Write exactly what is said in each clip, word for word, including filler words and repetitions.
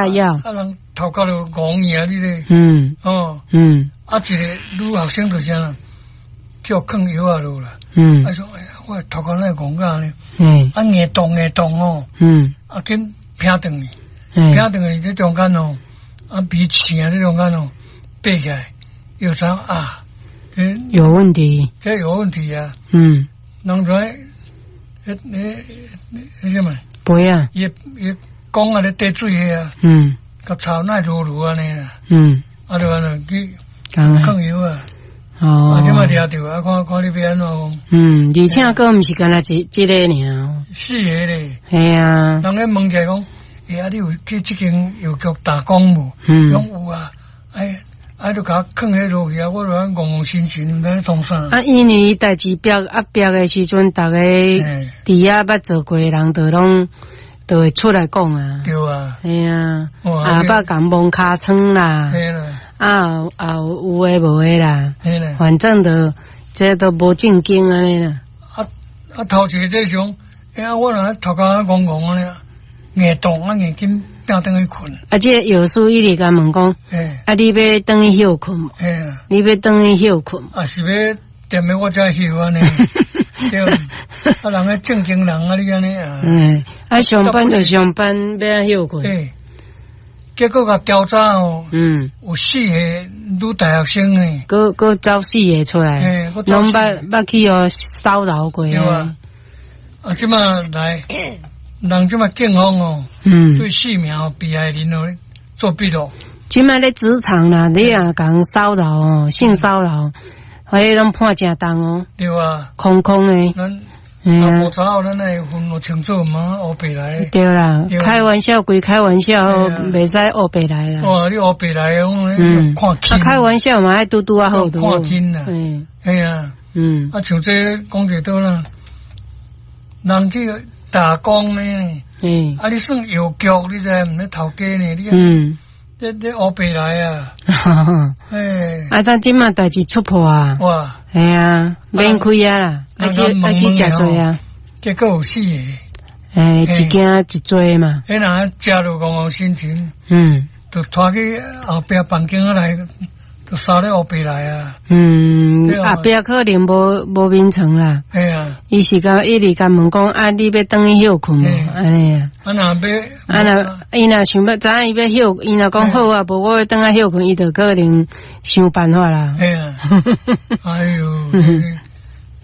藥。啊，人頭殼就戇去啊，你咧。嗯。哦。嗯。啊，一个女學生就是按怎，叫囥藥仔落啦。嗯。啊說，哎呀，我頭殼哪會戇甲按呢？嗯。啊，硬動硬動哦。嗯。啊，緊拚轉去，拚轉去這中間哦，啊，鼻刺啊，這中間哦，爬起來，又知啊，這有問題。這有問題啊。嗯。人就彼，彼彼彼啥物？杯啊。伊伊講啊咧綴水彼啊。嗯。共臭哪會濁濁按呢啦。嗯。啊，就按呢去囥藥啊。哦。啊，這擺掠著啊，看看你欲按怎講。嗯，而且閣毋是干焦一這個爾。四个咧。嘿啊。人咧問起來講，欸，啊，你有去這間藥局打工無？嗯。講有啊，哎，啊，就共我囥彼落去啊，我就按戇戇神神，毋知咧創啥。啊，因為代誌煏啊煏的時陣，逐家佇遐捌做過的人，就攏就會出來講啊。對啊。嘿啊。啊，捌共摸尻瘡啦。嘿啦。啊，啊有有的無的啦。嘿啦。反正就這都無正經按呢啦。啊啊，頭一個這種，欸啊，我若頭殼戇戇按呢，硬動啊硬緊拚轉去睏。啊，這個藥師一直共問講，啊，你欲轉去歇睏無？你欲轉去歇睏？啊，是欲踮咧我遮歇按呢？對，啊，人咧正經人啊，你按呢啊？嗯，啊，上班就上班，欲按歇睏？對，結果共調查哦，嗯，有四個女大學生呢，閣閣走四個出來，攏捌捌去予騷擾過。對啊，啊，這擺來，人這擺警方哦，嗯，對四名被害人哦做筆錄。這擺咧職場啦，你若共騷擾哦，性騷擾，彼攏判誠重哦。對啊，空空的。咱若無查好，咱愛分清楚，毋通烏白來。對啦，開玩笑歸開玩笑，袂使烏白來啦。哇，你烏白來，我看輕。啊，開玩笑嘛，愛拄拄仔好。看輕啦。嗯。嘿啊。嗯。啊，像這講者倒啦，人去打工呢。嗯。啊，你算藥局，你知毋？咧頭家呢？你嗯。這這烏白來啊！哎。啊，但這馬代誌出破啊！哇！嘿啊，免開啊啦，愛去愛去食濟啊。結果有四個。欸，一間一濟嘛。彼人食落戇戇神神。嗯。就拖去後壁房間仔內，就捎咧烏白來啊。嗯，後壁可能無無眠床啦。嘿啊。伊是共一直共問講，啊，你欲轉去歇睏無？按呢啊。啊若欲，啊若伊若想欲知影伊欲歇，伊若講好啊，無我欲轉來歇睏，伊就可能想辦法啦。嘿啊。哎喲，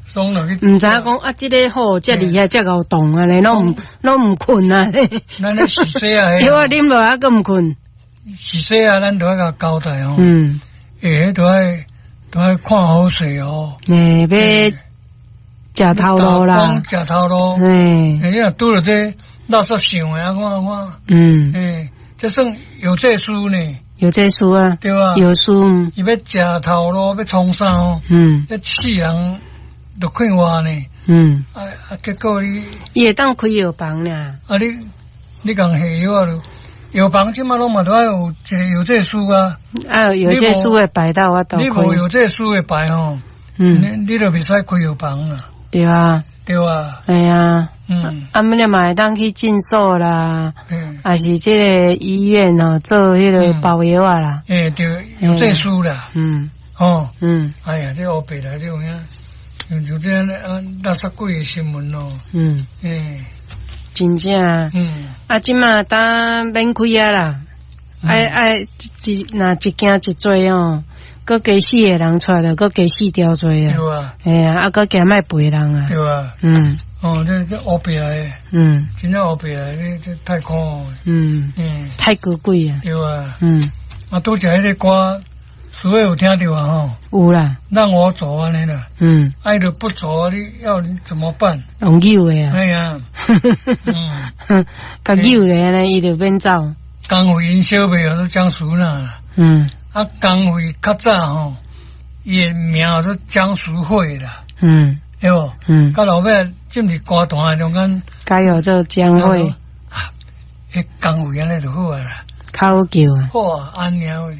爽落去。毋知影講啊，這个好，遮厲害，遮𠢕動按呢，攏毋攏毋睏啊。咱咧是說啊，藥仔啉落還閣毋睏。是說啊，咱都愛共交代哦。嗯。欸，彼都愛都愛看好勢哦。欸，欲食頭路啦。食頭路。欸。你若拄著這垃圾想的啊，看看。嗯。欸，這算藥劑師呢。藥劑師啊。對啊。藥師。伊欲食頭路，欲創啥哦？嗯。欲刺人，就快活呢。嗯。啊啊！結果你。伊會當開藥房爾。啊你，你共下藥啊？藥房這馬攏嘛都愛有一個藥劑師啊。啊，藥劑師的牌才有法度。你無藥劑師的牌吼，嗯，你你就袂使開藥房啦。對啊。對啊。嘿啊。嗯。啊，你嘛會當去診所啦，嗯，抑是這个醫院哦，做彼个包藥仔啦。欸，對，藥劑師啦。嗯。哦。嗯。哎呀，這烏白來這有影，像這啊垃圾鬼的新聞咯。嗯。欸。真正。嗯。啊，這馬當免開啊啦，愛愛一若一驚一濟哦，閣加四個人出來，閣加四條罪啊。對啊。嘿啊，啊，閣驚莫賠人啊。對啊。嗯。哦，這這烏白來的。嗯。真正烏白來，這這太可惡。嗯。嗯。太高貴啊。對啊。嗯。啊，拄才彼个歌，師傅有聽著啊吼？有啦。讓我走按呢啦。嗯。愛都不走，你要你怎麼辦？用扭的啊。哎呀。嗯。共扭咧按呢，伊就免走。江慧𪜶小妹叫做江淑娜。嗯。啊，江慧較早吼，伊的名叫做江淑慧啦。嗯。對無？嗯。到後尾進入歌壇的中間，改號做江慧。啊，彼江慧按呢就好啊啦。較好叫啊。好啊，按呢位，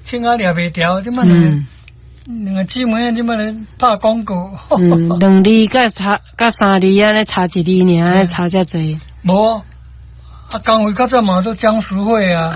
唱啊掠袂牢，這擺兩個兩個姊妹啊，這擺咧拍廣告。嗯，兩字佮差佮三字按呢差一字爾，按呢差遮濟。無，啊，江蕙較早嘛做江淑惠啊。